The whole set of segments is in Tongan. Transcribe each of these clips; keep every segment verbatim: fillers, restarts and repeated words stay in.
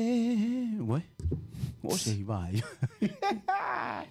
E, ue. O se hi vai.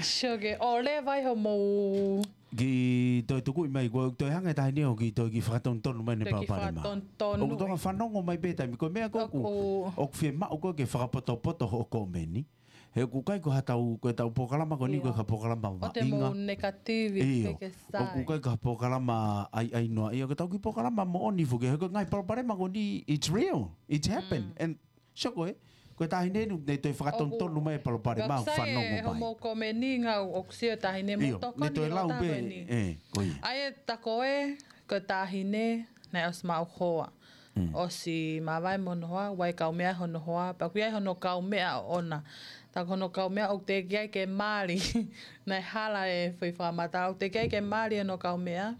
Sio ke, o le vai ho mou. Ki toe tukuʻi mai, ko toe hanga e taʻahine ʻo ki toe ki fakatonutonu mai ne Toe ki palopalema. fakatonutonu. ʻOku toka fanongo mai pē taimi, ko e meʻa ko ʻoku, ʻOku. ʻoku fiemaʻu ko ē ke fakapotopoto hoʻo komeni. He ʻoku ʻikai ko ha tau, ko e tau polokalama ko eni ko e Ia. ka polokalama ʻO te vaʻinga. mou negative, Io. ke ke sai. ʻOku ʻikai ko ha polokalama ʻai, ʻai noa. Ia, ko e tau ki polokalama moʻoni foki. He ko e ngaahi palopalema ko eni, it's real. It's happened. Mm. And so ko e, ko e taʻahine nu, ne toe fakatonutonu ʻOku. mai e palopalema ʻoku Sai fanongo e mai. homo komeni ngau ʻoku sio taʻahine mo Io, tokoni ne toe he lau ʻOtua pē, ko eni. e, ko ia. ʻAi e ta ko e, ko e taʻahine, naʻe ʻosi maʻu hoa. Mm. ʻOsi māvae mo hono hoa, ʻoku ʻi ai e kaumeʻa hono hoa, pea ʻoku ʻi ai hono kaumeʻa ʻoʻona. Tā ko hono kaumeʻa ʻoku teʻeki ai ke mali. Naʻe hala e foʻi fakamatala, ʻoku teʻeki ai ke mali hono kaumeʻa.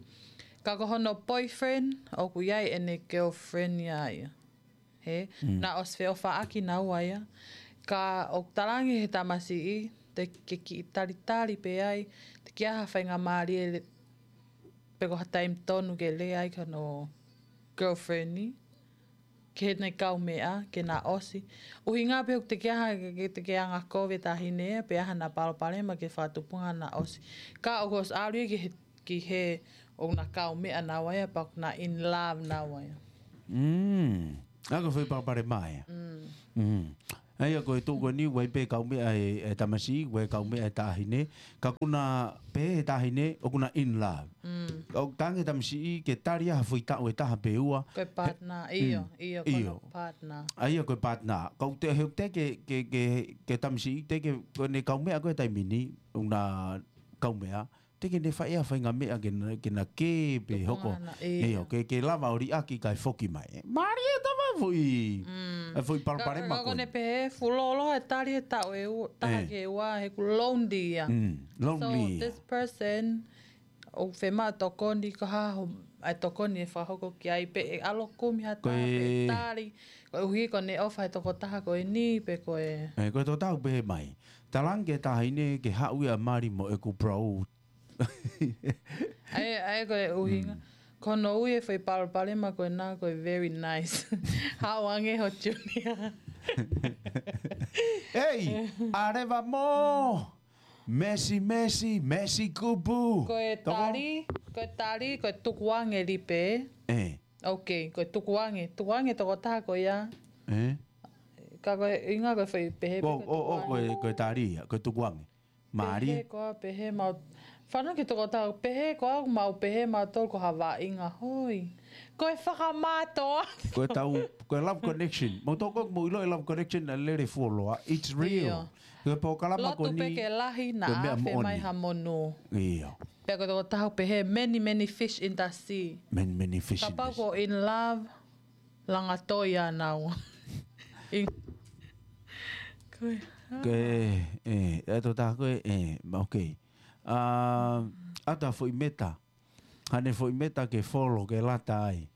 Ka ko hono boyfriend, ʻoku ʻi ai ʻene girlfriend ia ia. He, Mm. naʻe ʻosi feʻofaʻaki naua ia. Ka ʻoku talaange he tamasiʻi, te ke kiʻi talitali pē ai, teʻeki ai ha faingamālie le-, pe ko ha taimi tonu ke lea ai ki hono girlfriend ni, ki heʻene kaumeʻa, ke na ʻosi. ʻUhinga pē ʻoku teʻeki ai ha, ke, ke teʻeki ai anga kovi e taʻahine, pe ʻi ai haʻana palopalema ke fakatupunga na ʻosi. Ka ʻoku ʻosi ʻalu ia ki he, ki he ʻoku na kaumeʻa naua ia, pea ʻoku na in love naua ia. Mm. ʻA ko e foʻi palopalema ia. Mm. Mm. ʻA ia ko e tuʻu ko eni, ʻoku ʻi ai pē kaumeʻa e, e tamasiʻi, ʻoku ʻi ai kaumeʻa e taʻahine. Ka ʻoku na pehē e taʻahine, ʻoku na in love. Mm. ʻOku talaange e tamasiʻi ke tali ha foʻi taʻu ʻe taha pe ua. Ko e He, partner, ʻio, mm, ʻio, ko ʻio. hono partner. ʻA ia ko e partner. Ka ʻoku te, he ʻoku teʻeki ke, ke, ke, ke tamasiʻi, teʻeki ke, ko ʻene kaumeʻa ko ē he taimi ni, ʻoku na kaumeʻa. Teʻeki ke ne fai ha faʻahinga meʻa ke na, ke na kē pe Tupunga hoko. na, ʻIo, ʻio. ke, ke lava ʻo liʻaki kae foki mai. Mālie e tama foʻi. Mm. E foʻi palopalema Ka, ka ko eni. ʻene pehē, fuʻu lōloa e tali he taʻu ʻe ua, taha ʻE. ki he ua, he ʻoku lonely ia. Mm, lonely So, ia. this person, ʻoku fiemaʻu tokoni, ko e hā hoʻo, ʻai tokoni ʻe fakahoko ki ai pe ʻe ʻalu ʻo kumi ha Ko taha pe e tali, koeʻuhi ko ʻene ʻofa he tokotaha ko eni, pe ko e ʻE, ko e tokotaha ʻoku pehē mai. Talaange ki he taʻahine ke haʻu ia ʻo mali mo ʻeku bro. ʻAi, ʻai ko e ʻuhinga. Mm. Ko hono ui e foʻi palopalema ko ena ko e very nice. Haʻu ange ho junior. Ei, ʻa leva mo. Mesi, mesi, mesi kupu. Ko e Toko? tali, ko e tali, ko e tukuange lipe. ʻE. Ok, ko e tukuange. Tukuange tokotaha ko ia. ʻE. Ka ko e ʻuhinga ko e foʻi pehē pē ʻO, ko e ʻo, ʻo, ko e, tukuange. ko e tali ia, ko e tukuange. Mālie. Pehē koā, pehē mau. Fanongo ki he tokotaha, pehē koā mau, pehē mautolu ko ha vaʻinga hoi. Ko e fakamātoa. Ko e tau, ko e love connection. Mau toko, mau ʻilo e love connection naʻe lele fuoloa. It's real. ʻIo. Ko e polokalama ko Lotu pē eni, ke lahi ko e naʻa meʻa afe mai moʻoni. ha monū. ʻIo. Pea ko e tokotaha pehē, many, many fish in the sea. Many, many fish in the sea. Kapau ko in love, langa toi ʻa naua. ʻIo. Ko e, Ko e, ʻe, e tokotaha ko ē, ʻe, ma, ok. ʻA, ʻata foʻi meta. Haʻane foʻi meta ke follow, ke lata ai.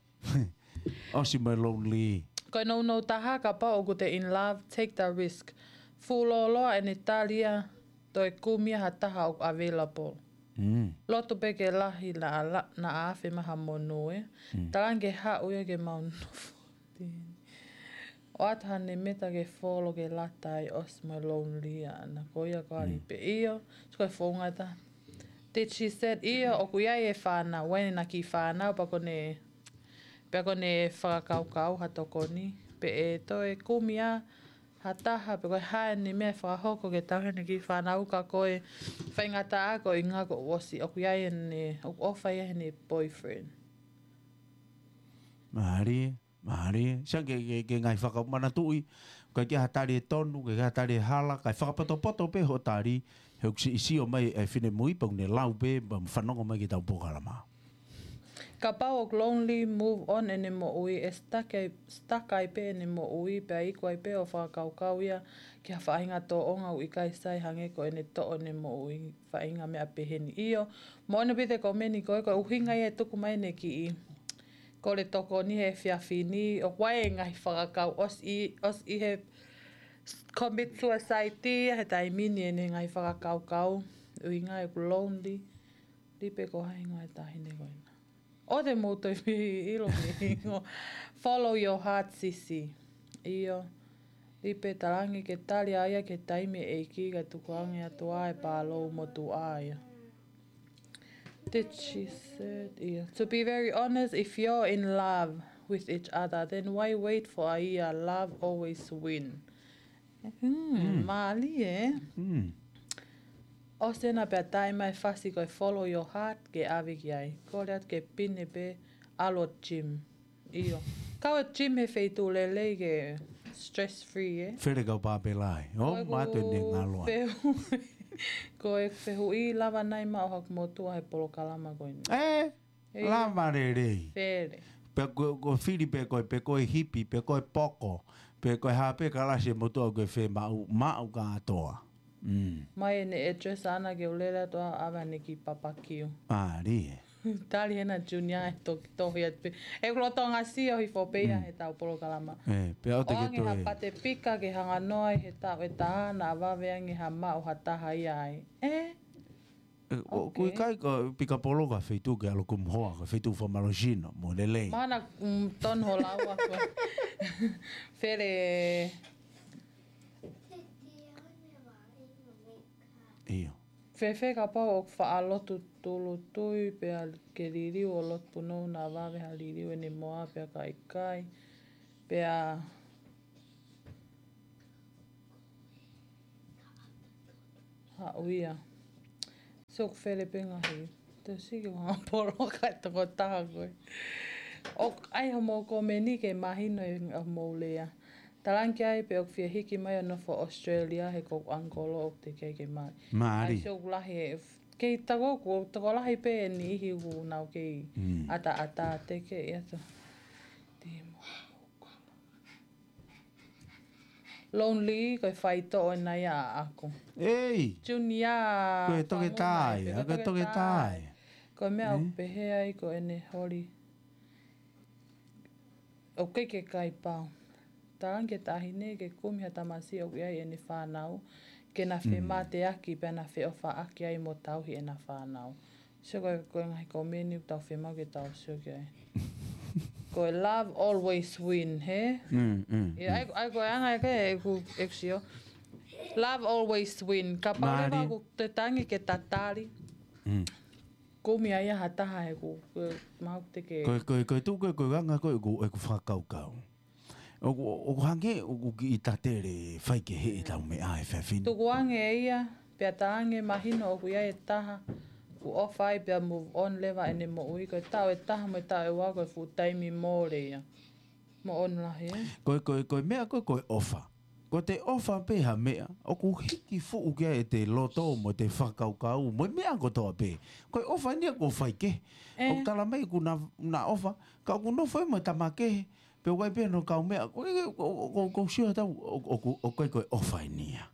ʻOsi mai lonely. Ko e nounou taha kapau ʻoku te in love, take the risk. Fuʻu lōloa ʻene tali ia, toe kumi ha taha ʻoku available. Mm. Lotu pē ke lahi naʻa la-, naʻa afe mai ha monū ē. Mm. Talaange ke haʻu ia ke mau nofo. ʻOatu haʻane meta ke follow ke lata ai ʻosi mai lonely ʻana. Ko ia ko ali Mm. pē ʻio. Ko e founga ta. Did she said ʻio, ʻoku ʻi ai e fānau, ʻoku ʻi ai ʻena kiʻi fānau, pea ko ʻene, pea ko ʻene fakakaukau ha tokoni, pe ʻe toe kumi ā ha taha, pe ko e hā ʻene meʻa ʻe fakahoko ke tau ʻene kiʻi fānau ka ko e faingataʻa ko e ʻuhinga ko ʻosi, ʻoku ʻi ai ʻene, ʻoku ʻofa ia heʻene boyfriend. Mālie. Mālie, sai ke, ke, ke ngaahi fakamanatuʻi, ʻikai ke ha tali ʻe tonu, ʻikai ke ha tali ʻe hala, kae fakapotopoto pē hoʻo tali, he ʻoku siʻi sio mai e finemui, pea ʻoku ne lau pē, pea fanongo mai ki heʻetau polokalama. Kapau ʻoku lonely, move on ʻene moʻui, ʻe stuck ai, stuck ai pē ʻene moʻui, pea iku ai pē ʻo fakakaukau ia ki ha faʻahinga tōʻonga ʻoku ʻikai sai hangē ko ʻene toʻo ʻene moʻui, faʻahinga meʻa peheni. ʻIo, moʻoni pē te komeni ko e, ko e ʻuhinga ia ʻe tuku mai ʻene kiʻi kole tokoni he efiafi ni, ʻoku ʻi ai e ngaahi fakakaukau ʻosi, ʻosi he commit suicide ia he taimi ni ʻene ngaahi fakakaukau, ʻuhinga ʻoku lonely, lipe ko hai ngaahi taʻahine ko ena. ʻO te mou toe fie ʻilo ke hingo. Follow your heart, sisi. ʻIo. Lipe, talaange ke tali ʻa ia ki he taimi ʻe ʻEiki, kae tukuange atu ʻa e palō motuʻa ia. Did she said, yeah. To be very honest, if you're in love with each other, then why wait for a year? Love always win. Hmm, mālie. ʻOsi ena pea tae mai fasi ko e follow your heart ke ʻave ki ai. Kole atu ke pine pē ʻalu ʻo gym. ʻIo. Kau e gym he feituʻu lelei ke stress free, ē? Fele kau pāpela ē. ʻO mātuʻa ne ngalo ai. Ko e fehuʻi, lava nai maʻu haku motuʻa he polokalama ko eni? Ē, lava lelei. Fele. Pe ko, ko fili pe ko e, pe ko e hipi, pe ko e poko, pe ko e hā pē kalasi e motuʻa ʻoku ke fie maʻu, maʻu kātoa. Mai ʻene address ʻana ke u lele atu ʻo ʻave ʻene kiʻi papakiu. Mālie. Tali hena Junior ʻe toki tohi atu pē. ʻE kulo tonga sio hifo pē ia he tau polokalama. Ē, pea ʻoua te ke toe. ʻOange ha pate pika ke hanga noa ai he taʻu ʻe taha naʻa vave ange ha maʻu ha taha ia ai. Ē? ʻOku ʻikai ko e pika poloka feituʻu ke ʻalu kumu hoa, ko e feituʻu famalosino, mo lelei. Mana, mm, ton ho laua ko. Fele. ʻIo. Fēfē kapau ʻoku faʻa lotu tūʻulutui pea ke liliu ʻo lotu punou naʻa vave ha liliu ʻene moa pea ka ʻikai. Pea haʻu ia. Sio ʻoku fele pē ngaahi. Te siki ua poloka e tokotaha ko ē. ʻOku ʻai homou komeni ke mahino e homou lea. Talaange ai pē ʻoku fie hiki mai ʻo nofo Australia he ko e uncle ʻoku teʻeki ai ke mali. Mālie. ʻAi sio ʻoku lahi e, kei tako ʻoku, tokolahi pē ʻe niʻihi ʻoku nau kei ʻataʻatā teʻeki ai atu. Timo. Lonely, ko e faitoʻo ena ia ʻaʻaku. Ei! Junior, ko e toketā ia, ko e toketā ia. Ko e meʻa ʻoku pehē ai ko ʻene holi. ʻOku ʻikai ke kai pau. Talaange ki he taʻahine ke kumi ha tamasiʻi ʻoku ʻi ai ʻene fānau, ke na femateaki pea na feʻofaʻaki ai mo tauhi ʻena fānau. Sio ko e, ko e ngaahi komeni ʻoku tau fiemaʻu ke tau sio ki ai. Ko e love always win, hē? Mm, mm, ʻIo, mm. ʻAi, ʻai ko e anga ʻeku, ʻeku, ʻeku sio. Love always win. Kapau leva ʻoku te tangi ke tatali. Mm. Kumi ai ha taha he ʻoku, ko e mau te ke. Ko e, ko e, ko e tuʻu ko e, ko e anga ko e ʻeku, ʻeku fakakaukau. ʻOku, ʻoku hangē ʻoku kiʻi tatele fai kehe ʻetau meʻa he fefine. Tukuange ia, pea talaange mahino ʻoku ʻi ai e taha, ʻoku ʻofa ai pea move on leva ʻene moʻui, ko e taʻu ʻe taha mo e taʻu ʻe ua ko e fuʻu taimi mole ia. Mo on lahi, ē? Ko e, ko e, ko e meʻa ko e, ko e ʻofa. Ko e ʻofa pē ha meʻa, ʻoku hiki fuʻu ki ai ʻete loto mo ʻete fakakaukau, mo e meʻa kotoa pē. Ko e ʻofa eni ia ʻoku fai kehe. Ē. ʻOku tala mai ʻoku na, na ʻofa, ka ʻoku nofo ia mo e tama kehe, pe ʻoku ʻi ai pē hono kaumeʻa, ko e, ko, ko, ko, ko sio atu, ʻo, ʻo, ʻo, ʻoku ʻikai ko e ʻofa eni ia.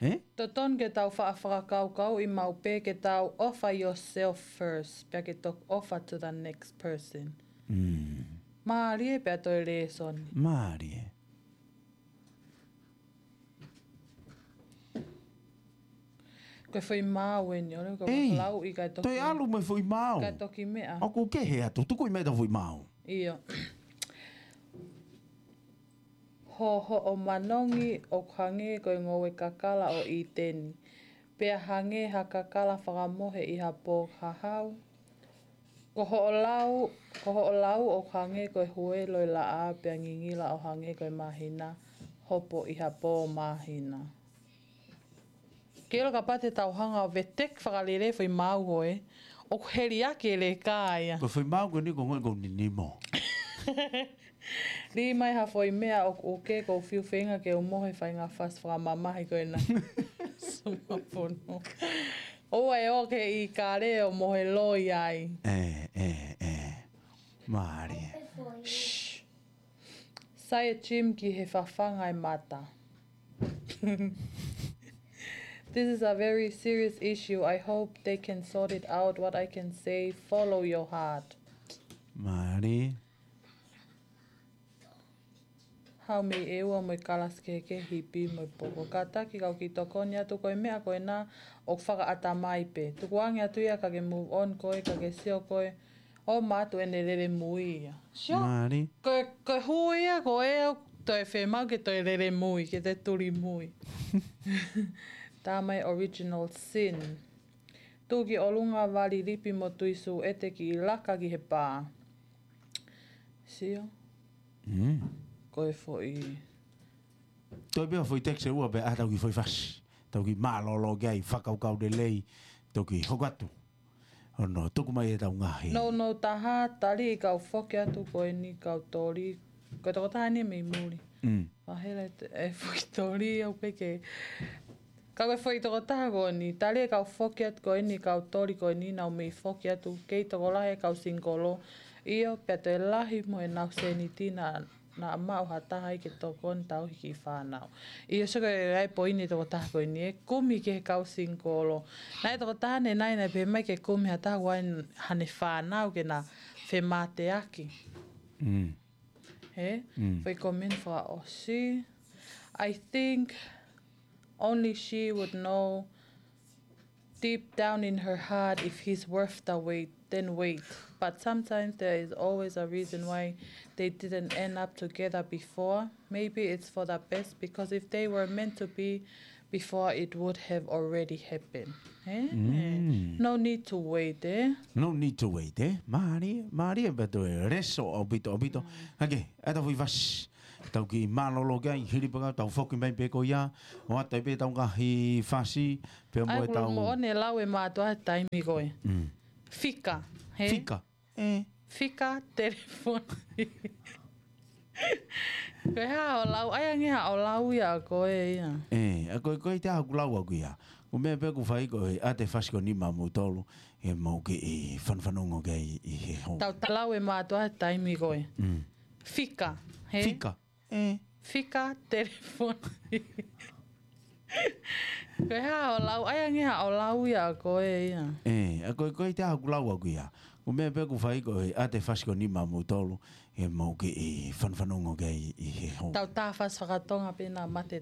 Ē? Totonu ke tau faʻa fakakaukauʻi maʻu pē ke tau offer yourself first, pea ke toki offer to the next person. Mm. Mālie pea toe lēsoni. Mālie. Ko e foʻi maau eni, ʻo le ko e Ei, lau ʻi ka toki. Toe ʻalu mo e foʻi maau. Ka toki meʻa. ʻOku kehe atu, tuku ʻi mai ta foʻi maau. ʻIo. Ho, hoʻo manongi ʻoku hangē ko e ngoue kakala ʻo ʻĪteni. Pea hangē ha kakala fakamohe ʻi ha pō hahau. Ko hoʻo lau, ko hoʻo lau ʻoku hangē ko e huelo ʻi laʻā pea ngingila ʻo hangē ko e māhina hopo ʻi ha pō māhina. Ke ʻilo kapau te tau hanga ʻo veteki fakalelei foʻi maau ko ē, ʻoku heliaki e leka ia. Ko e foʻi maau ko eni ko ngoue ko ninimo. Lī mai ha foʻi meʻa ʻoku, ʻoku ke ko fiu feinga ke u mohe fainga fasi fakamamahi ko ena. Suma pono. ʻOua ʻe ō ki he ʻīkale ʻo mohe loi ai. Ē, ē, ē. Mālie. Shh. Sai e Jim ki he fafanga e mata. This is a very serious issue. I hope they can sort it out. What I can say, follow your heart. Mālie. Haʻu mei ʻEua mo e kalasi kehekehe, hipi mo e poko. Kātaki kau kiʻi tokoni atu ko e meʻa ko ena ʻoku fakaʻatamai pē. Tukuange atu ia ka ke move on koe, ka ke sio koe ʻo mātuʻa ʻene lele mui ia. Sio? Mālie. Ko e, ko e hū ia ko ē ʻoku Toe femau ke toe lele mui, ke te tuli mui. Tā mai original sin. Tuʻu ki ʻolunga vali lipi mo tui sū ʻete ki laka ki he pā. Sio? Mm. Ko e foʻi. Toe pea foʻi text ʻe ua pea ʻa tau ki foʻi fasi. Tau ki mālōlō ki ai, fakakaukau lelei, toki hoko atu. Ono, tuku mai e tau ngaahi. No, no, taha, tali e kau foki atu ko eni kau toli. Ko e tokotaha ni mei muli. Mm. Mahela e te-, e foki toli, au peke. Ka ko e foki tokotaha ko eni, tali e kau foki atu ko eni kau toli ko eni nau mei foki atu, kei tokolahi e kau singikolo. ʻIo, pea toe lahi mo e nau seniti na, na maʻu ha taha ai ke tokoni tauhi ki fānau. ʻIo, sio ko e ai poini tokotaha ko eni, e kumi ki he kau singikolo. Naʻe tokotaha ne nai naʻe pehē mai ke kumi ha taha ʻoku ʻi ai hane fānau ke na femāteaki. Mm. He? Mm. Foʻi comment fakaʻosi. I think only she would know deep down in her heart if he's worth the wait, then wait. But sometimes there is always a reason why they didn't end up together before. Maybe it's for the best, because if they were meant to be before, it would have already happened. Eh? Mm. No need to wait, eh? No need to wait, eh? Mālie, mālie e beto e leso ʻaupito, ʻaupito. Mm. Hake, ʻa e tau foʻi fasi. Tau ki mālōlō ki ai, hili pē ka tau foki mai pē ko ia, ʻo ʻata pē tau ngaahi fasi, pea mo Ai, e tau mo one lau e mātuʻa he taimi ko ē. Mm. Fika, he? Fika, eh. Fika, telefoni. Ko e hā ʻo lau, ai ange hā ʻo lau ia ko ē ia. Eh, ʻa ko e, ko e te haku lau aku ia. Ko e meʻa pē ʻoku fai ko e ʻa e fasi ko eni maʻa moutolu, ʻe mou kiʻi fanafanongo ki ai ʻi he hou. Tau ta lau e mātuʻa he taimi ko ē. Mm. Fika, he? Fika. Eh. Fika telefoni. Ko e hā ʻo lau, ai ange hā ʻo lau ia ko ē ia. Eh, ʻa ko e, ko e te haku lau aku ia. Ko e meʻa pē ʻoku fai ko e ʻa e fasi ko eni maʻa moutolu, ʻe mou kiʻi fanafanongo ki ai ʻi he hou. Tau ta fasi fakatonga pē na mate